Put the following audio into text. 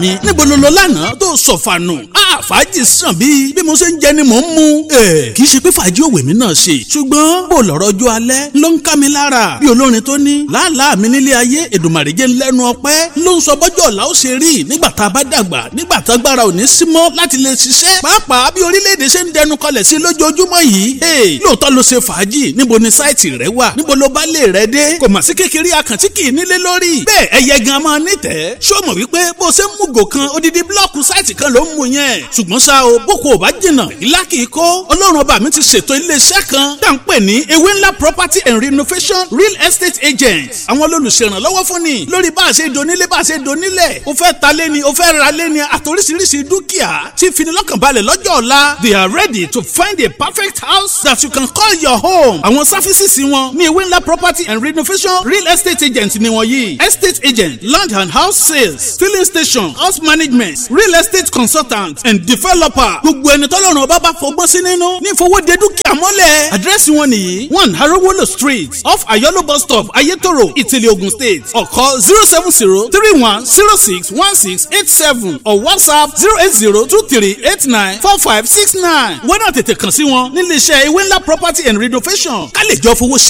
Mi, níbo ló lọ lánàá tó sọ̀fànù? Fàájì sàn bí mo ṣe ń jẹ ni mò ń mu. Kì í ṣe pé fàájì òwe mi náà ṣe, ṣùgbọ́n bó lọ̀rọ̀ ọjọ́ alẹ́ ló ń ká mi lára. Bí olórin tó ní làálàá mi nílé ayé, Èdùmàrè jẹ́ ńlẹ́nu ọpẹ́ ló ń sọ bọ́jọ́ ọ̀la ó ṣe rí nígbà tá a bá dàgbà, nígbà tá agbára ò ní sí mọ́ láti lè ṣiṣẹ́. Pàápàá bí orílẹ̀-èdè ṣe ń dẹnu kọlẹ̀ sí lójoojúmọ́ yìí. Lóòótọ́ ló ṣe fàájì, níbo ni sáìtì rẹ wà, níbo ló bá lè rẹ dé? Kò mà sí kékeré akàntí kì í nílé lórí. Bẹ́ẹ̀ ẹyẹ gan máa nítẹ̀ẹ́. Ṣó mọ̀ wípé bó ṣe ń mú gò kan odidi blọ́ọ̀kù sáìtì kan ló ń mú yẹn. Ṣùgbọ́n ṣá o, boko ò bá jìnnà, ìlà kì í kó. Ọlọ́run ọba mi ti ṣètò iléeṣẹ́ kan tá à ń pè ní Ewé Ńlá Property and Renovation Real Estate Agent. Àwọn olùṣèrànlọ́wọ́ fún ni lórí bá a ṣe donílé, bá a ṣe donílẹ̀. O fẹ́ ta lé ni, o fẹ́ ra lé ni, àtòríṣiríṣi dúkìá tí finilọ́kànbalẹ̀ lọ́jọ́ ọ̀la. They are ready to find a perfect house that you can call your home. Àwọn services wọn ní Ewé Ńlá Property and Renovation Real Estate Agent ni wọ́n yìí: estate agent, land and house sales, filling station, house management, real estate consultant and developer. Gbogbo ẹni tọ́lọ́run ọba bá fọgbọ́n sí nínú ní ìfowóde dúkìá mọ́lẹ̀. Àdírẹ́sì wọn nìyí: 1 Arowolo Street, off Ayolo bus stop, Ayetoro, Ìtìlẹ̀, Ogun State. Or call 07031061687 or WhatsApp 08023894569. Wọ́n náà tètè kàn sí wọn nílé iṣẹ́ Ewé Ńlá Property and Renovation ká lè jọ fowó ṣe.